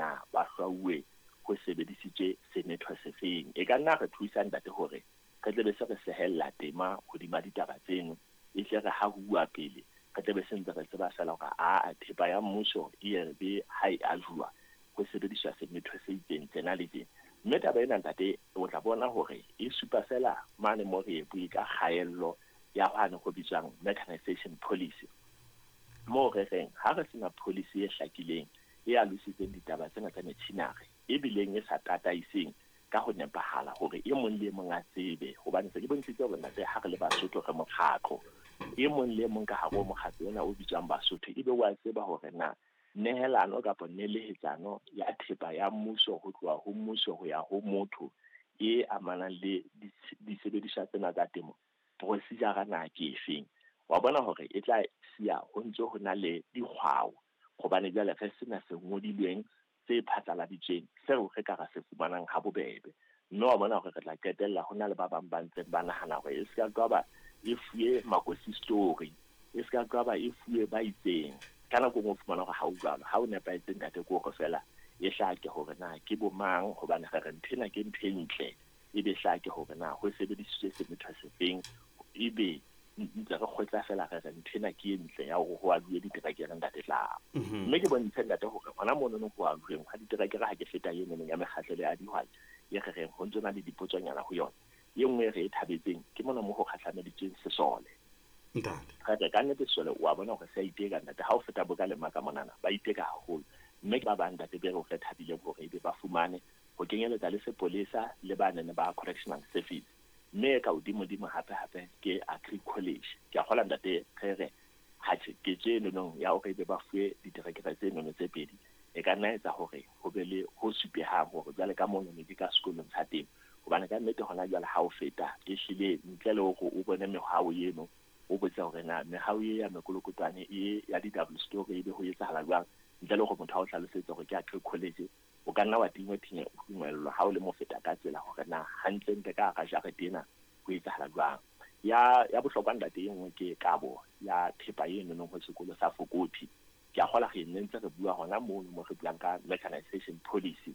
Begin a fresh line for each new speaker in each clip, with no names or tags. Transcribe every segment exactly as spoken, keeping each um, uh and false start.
na ba hlwauwe ho sebedisitswe semetho sefeng. E ka nna re thusa ntate hore re tle be se re sehella tema hodima ditaba tseno, e tle re ha ho bua pele re tle be se ntse re tseba feela hore a thepa ya mmuso e re be ha e ajuwa ho sebediswa semetho se itseng tsena le tsena. Mme taba ena ntate o tla bona hore e supa fela mane mo re e bue ka kgaello ya hwane ho bitswang mechanization policy, moo re reng ha re sena policy e hlakileng e alositseng ditaba tsena tsa metjhinare ebileng e sa tataiseng ka ho nepahala hore e mong le e mong a tsebe, hobane se ke bontshitse hore ntate ha re le Basotho re mokgatlo, e mong le e mong ka hare ho mokgatlo ona o bitswang Basotho ebe wa tseba hore na nehelano kapa nelehetsano ya thepa ya mmuso ho tloha ho mmuso ho ya ho motho e amanang le disebediswa tsena tsa temo procedure na ke efeng. Wa bona hore e tla siya ho ntse ho na le dikgwao, hobane jwale re sena se ngodilweng tse phatlaladitsweng seo re ka ra se fumanang ha bobebe. Mme wa bona hore re tla qetella ho na le ba bang ba ntseng ba nahana hore e se ka ba e fuwe makosi story, e se ka ba e fuwe ba itseng. Ka nako e nngwe o fumana hore ha o jwalo, ha o nepahetse ntate ke hore fela e hlake hore na ke bo mang, hobane re re ntho ena ke ntho e ntle, ebe hlake hore na ho sebedisitswe semetho sefeng, ebe ntse re kgotla fela re re ntho ena ke e ntle ya hore ho aluwe diterekere ntate tla. Mme ke bontshe ntate hore hona monono ho aluweng ha diterekere ha ke feta eno ya mekgahlelo ya dihwai e re reng ho ntso na le dipotsonyana ho yona. E nngwe e re e thabetseng ke mona mo ho kgahlameditsweng sesole.
Ntate.
Re ka nnete sesole wa bona hore se a iteka ntate, ha o feta bo ka lema ka monana ba iteka haholo. Mme ke ba bang ntate be re re thabileng hore ebe ba fumane ho kenyeletsa le sepolesa le ba nene ba correctional service. Mme ka hodimo-dimo hape hape ke Agri College. Ke a kgolwa ntate re re ha tjhe ke tje nonong ya hore ebe ba fuwe diterekere tse nono tse pedi, e ka nna etsa hore ho be le ho supehang hore jwale ka mono ne di ka sekolong sa temo. Hobane ka nnete hona jwale ha o feta e hlile ntle le hore o bone mehao eno, o botse hore na mehao e ya mekolokotwane e ya di-double story ebe ho etsahala jwang, ntle le hore motho a o hlalosetse hore ke Agri College, o ka nna wa tingwe thinye o tumellwa ha o le mofeta ka tsela hore na hantlentle ka hara jarete ena ho etsahala jwang. Ya ya bohlokwa ntate e nngwe ke kabo ya thepa e nonong ho sekolo sa Fokothi. Ke a kgolwa re ne ntse re bua hona mono mo re buang ka mechanization policy,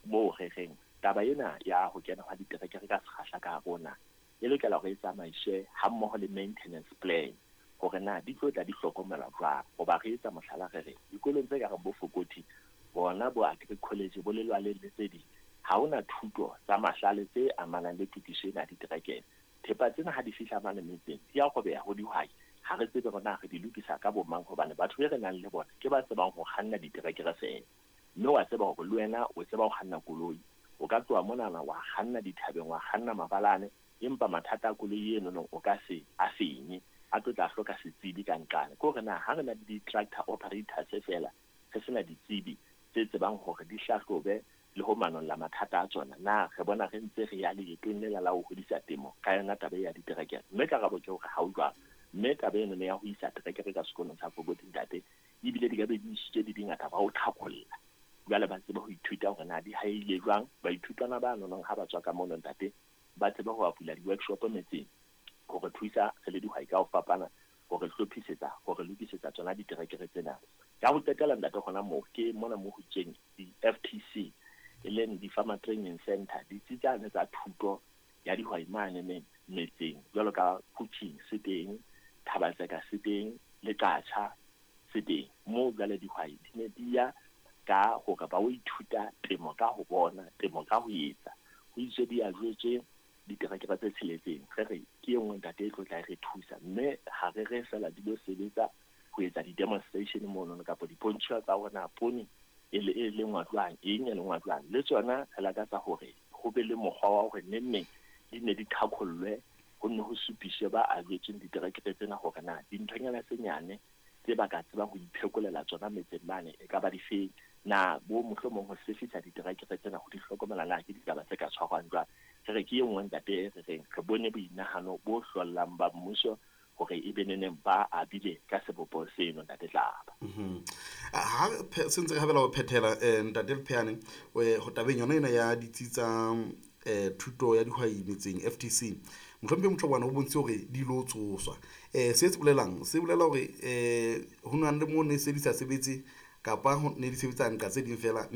moo re reng taba ena ya ho kena hwa diterekere ka sekgahla ka rona e lokela hore e tsamaiswe hammoho le maintenance plan, hore na di tlo tla di hlokomelwa jwang. Hoba re etsa mohlala re re dikolong tse ka reng bo Fokothi, bona bo Agri College, bo Lelwaleng le tse ding, ha hona thuto tsa mahlale tse amanang le tokiso ena ya diterekere. Thepa tsena ha di fihla mane metseng di a robeha ho dihwai, ha re tsebe hore na re di lokisa ka bo mang, hobane batho be re nang le bona ke ba tsebang ho kganna diterekere feela. Mme wa tseba hore le wena o tseba ho kganna koloi, o ka tloha monana wa kganna dithabeng, wa kganna mabalane, empa mathata a koloi eno no o ka se a fenye, a tlo tla hloka setsebi ka nqane. Ke hore na ha re na le di-tractor operators feela, re sena ditsebi tse tsebang hore di hlahlobe le ho manolla mathata a tsona, na re bona re ntse re ya leetong lela la ho hodisa temo ka yona taba ya diterekere. Mme karabo ke hore ha o jwalo. Mme taba eno ya ho isa terekere ka sekolong sa Fokothi ntate, ebile di ka be di isitswe di dingata ba ho tlhakolla, jwale ba tsebe ho ithuta hore na di haile jwang. Baithutwana ba nonong ha ba tswa ka mono ntate ba tsebe ho bula di-workshop metseng hore thusa re le dihwai ka ho fapana, hore hlophisetsa, hore lokisetsa tsona diterekere tsena. Ya ho qetela ntate hona moo ke mona mo ho itsweng di-F T C, e leng di-Farmer Training Center, ditsi tsane tsa thuto ya dihwai mane metseng jwalo ka Kuching se teng, Thabatseka se teng, le Qacha se teng. Moo jwale dihwai di ne di ya ka hore ba o ithuta temo ka ho bona, temo ka ho etsa. Ho itswe di a jwetswe diterekere tse tsheletseng, re re ke e nngwe ntate e tlo tla re thusa. Mme ha re re fela di lo sebetsa ho etsa di-demonstration monono kapa dipontsho tsa hore na poone e le e lengwa jwang, eng e lengwa jwang. Le tsona re lakatsa hore ho be le mokgwa wa hore neng neng di ne di qhaqhollwe, ho nne ho supiswe ba abetsweng diterekere tsena hore na dinthonyana tse nyane tse ba ka tsebang ho iphekolela tsona metseng mane e ka ba difeng, na bo mohlomong ho sefisa diterekere tsena ho di hlokomela na ke ditaba tse ka tshwarwang jwang. Re re ke e nngwe ntate e re reng re bone boinahano bo hlollang ba mmuso hore e be neneng ba abile ka sebopo seno ntate Tlaba.
Mhm. Ha se ntse re habela ho phethela ntate Lepheane, ho tabeng yona ena ya ditsi tsa thuto ya dihwai metseng F T C, mohlomphehi Motshobana o bontshitse hore di lo tsoswa. Eh se se bolelang, se bolela hore eh ho na le mo ne se di sa sebetse kapa ho ne di sebetsa nqa tse ding fela.